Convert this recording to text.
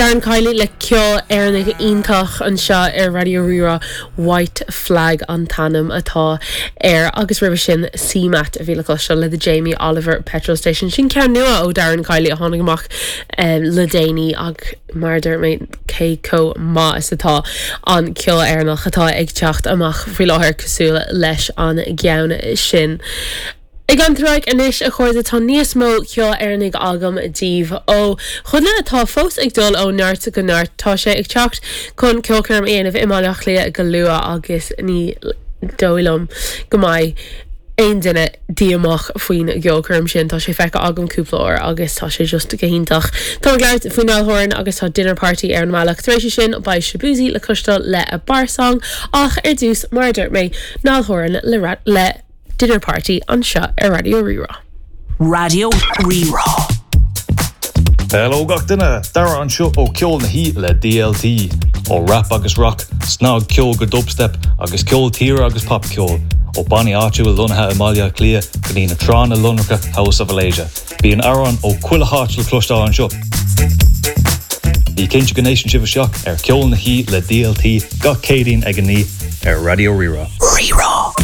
Darren Kiely le ceol Éireannach iontach anseo ar Raidió Rí-Rá, White Flag an t-ainm atá air agus roimhe sin CMAT a bhí le cloisteáil le The Jamie Oliver Petrol Station. Sin ceann nua ó Darren Kiely a tháinig amach le déanaí ach mar a dúirt mé cé chomh maith is atá an ceol Éireannach atá ag teacht amach faoi láthair cosúil leis an gceann sin. Ag leanúint ar aghaidh anois, a chairde, tá níos mó ceoil Éireannaigh agam daoibh ó dhuine atá fós ag dul ó neart go neart. Tá sé ag teacht chun ceolchoirm a dhéanamh i mBaile Átha Cliath go luath agus ní dóigh liom go mbeidh aon duine díomách faoin gceolchoirm sin. Tá sé feicthe agam cúpla uair agus tá sé just go hiontach. Táim ag labhairt faoi Niall Horan agus tá Dinner Party ar an mbealach. Tar éis sin beidh Shaboozey le cloisteáil le A Bar Song ach ar dtús, mar a dúirt mé, Niall Horan le le Dinner Party anseo ar Raidió Rí-Rá. Raidió Rí-Rá. Hello gach duine! Dara anseo ó Ceol na hOíche le DLT. Ó rap agus rock, snagcheol go dubstep agus ceol tíre agus popcheol, ó bannaí áitiúil lonnaithe i mBaile Átha Cliath go dtí na tránna lonracha House of Alasia. Bíonn amhráin ó chuile háit le cloisteáil anseo. Bí cinnte go n-éisteann sibh isteach ar Ceol na hOíche le DLT gach Céadaoin ag a 9 ar Raidió Rí-Rá. Rí-Rá.